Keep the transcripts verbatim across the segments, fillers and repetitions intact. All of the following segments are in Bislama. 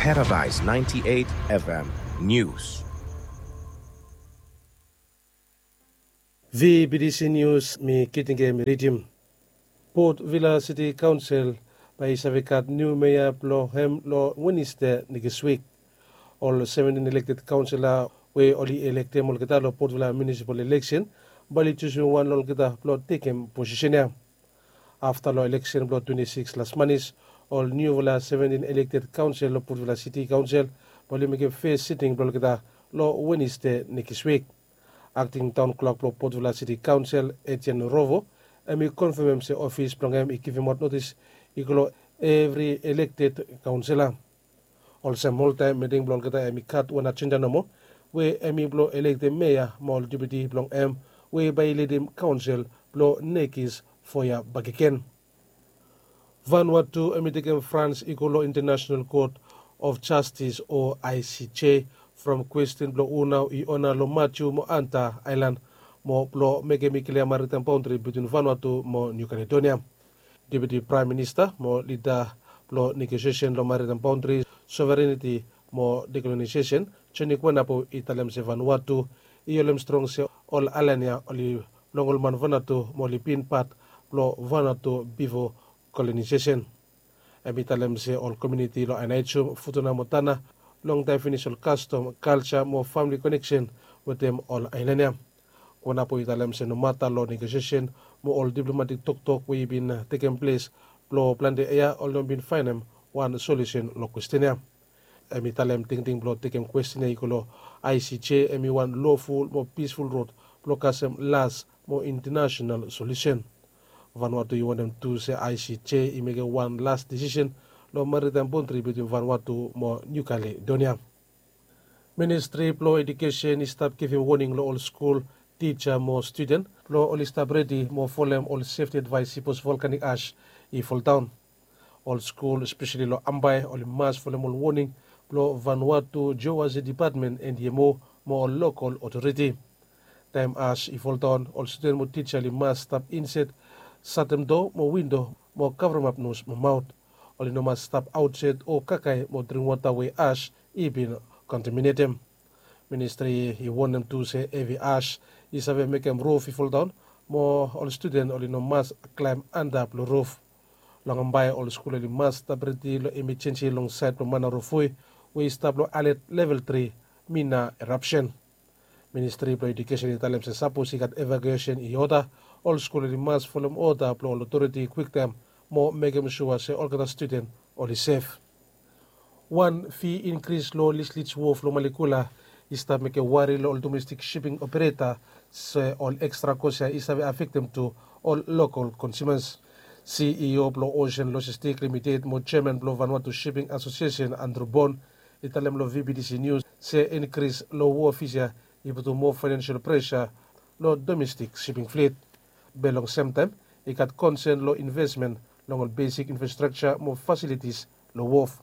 Paradise ninety-eight F M News. V B D C News, mi Kitingem ridim. Port Vila City Council bae i save gat niu mea blong hem long Wenesde nekis wik. Ol seventin elekted kaonsela we oli elektem olgeta long Port Vila munisipal eleksen bae oli jusum wan long olgeta blong tekem posisen ya. Afta long eleksen blong twenti sikis las manis, ol niufala seventin elekted kaonsel long Port Vila City Council bae oli mekem fes siting blong olgeta long Wenesde nekis wik. Akting taon klak blong Port Vila City Council, Etienne Rovo, hem i konfemem se ofis blong hem i givimaot notis i go long evri elekted kaonsela. Olsem oltaem, miting blong olgeta hem i gat wan ajenda nomo, we hem i blong elektem mea mo ol deputi blong hem we bae i lidim kaonsel blong nekis fo yia bakegen. Vanuatu hem i tekem frans i go long International Court of Justice o I C J from kwestin blong hu nao i ona long Matiu mo Anta aelan, mo blong mekem i klia maritaem baondri bitwin Vanuatu mo Niu Kaledonia. Deputi Praem Minista mo lida blong negosiesen long maritaem baondri, sovereniti mo dekolonaesesen, Joni Kuenapu, i talem se Vanuatu i holem strong se ol aelan ya oli blong ol man Vanuatu mo oli bin pat blong Vanuatu bifo kolonaesesen. Hem i talem se ol komuniti long Aneityum, Futuna mo Tanna longtaem finis ol kastom, kalja mo famili koneksen wetem ol aelan ya. Kuenapu i talem se nomata long negosiesen mo ol diplomatik toktok we i bin tekem ples blong plante yia, oli no bin faenem wan solusen long kwestin ya. Hem i talem tingting blong tekem kwestin ya i go long I C J hem i wan loful mo pisful rod blong kasem las mo intanasenal solusen. Vanuatu i wantem tu se I C J i mekem wan las desisen long maritaem baondri bitwin Vanuatu mo Niu Kaledonia. Ministri blong Ejukesen i stap givim woning long ol skul tija mo studen blong oli stap redi mo folem ol sefti advaes sipos volkanik as i foldaon. Ol skul, espeseli long Ambae, oli mas folem ol woning blong Vanuatu Geology Department, N D M O, mo ol lokol otoriti. Taem as i foldaon, ol studen mo tija oli mas stap insaed, satem doa mo windo mo kavremap nos mo maot. Oli no mas stap aotsaed o kakae mo dring wota we as i bin kontaminetem. Ministri i wonem tu se hevi as i save mekem rof i foldaon, mo ol studen oli no mas klaem antap long rof. Long Ambae, ol skul oli mas stap redi long emejensi long saed blong Manarofui we i stap long alet level tri, mina erapsen. Ministri blong Ejukesen i talem se sapos i gat evakuesen i oda, ol skul oli mas folem oda blong ol otoriti kwiktaem mo mekem sua se olgeta studen oli sef. Wan fi inkris long Leschlitz Wharf long Malekula i stap mekem wari long ol domestik siping opereta, se ol ekstra kos ya i save afektem tu ol lokol konsiumas. C E O blong Ocean Logistic Limited mo jeaman blong Vanuatu Shipping Association, Andrew Bond, i talem long V B D C News se inkris long wharf fis ya i putum moa faenensel presa long domestik siping flit. Be long semtaem, i gat konsen long invesmen long ol besik infrastrakja mo fasilitis long wharf.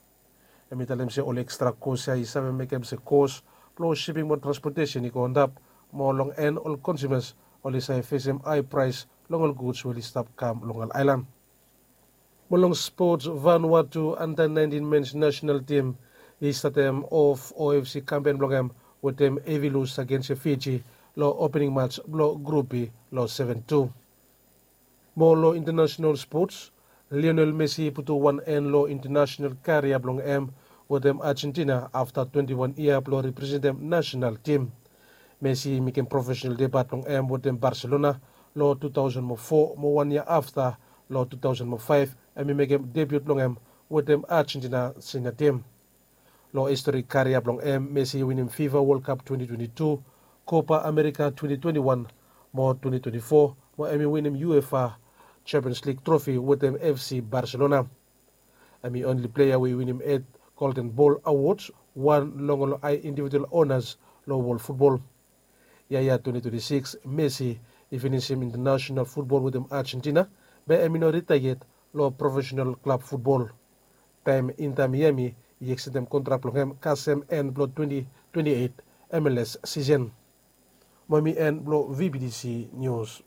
Hem i talem se ol ekstra kos ya i save mekem se kos blong siping mo transpotesen i go antap, mo long en ol konsiumas oli save fesem hae praes long ol guds we oli stap kam long ol aelan. Mo long spots, Vanuatu anda naentin mens nasenal tim i statem of O F C kampen blong hem wetem hevi lus agens Fiji long opening mats blong Grup B long seven tu. Mo long intanasenal spots, Lionel Messi i putum wan en long intanasenal karia blong hem wetem Argentina afta twenti wan yia blong representem nasenal tim. Messi i mekem profesenal debiu blong hem wetem Barcelona long tu taosen mo fo, mo wan yia afta, long tu taosen mo faef, hem i mekem debiu blong hem wetem Argentina senior tim. Long historik karia blong hem, Messi i winim FIFA World Cup twenti twenti tu, Copa America twenti twenti wan mo twenti twenti fo, mo hem i winim UEFA Champions League trofi wetem F C Barcelona. Hem i onli pleia we i winim eit Golden Ball Awards, wan long ol hae individual onas long wol futbol. Yia ya twenti twenti sikis, Messi i finisim intanasenal futbol wetem Argentina, be hem i no ritaea yet long profesenal klab futbol. Taem Inter Miami i ekstendem kontrak blong hem kasem en blong twenti twenti eit M L S sisen. Mo hem i en blong V B D C Nius.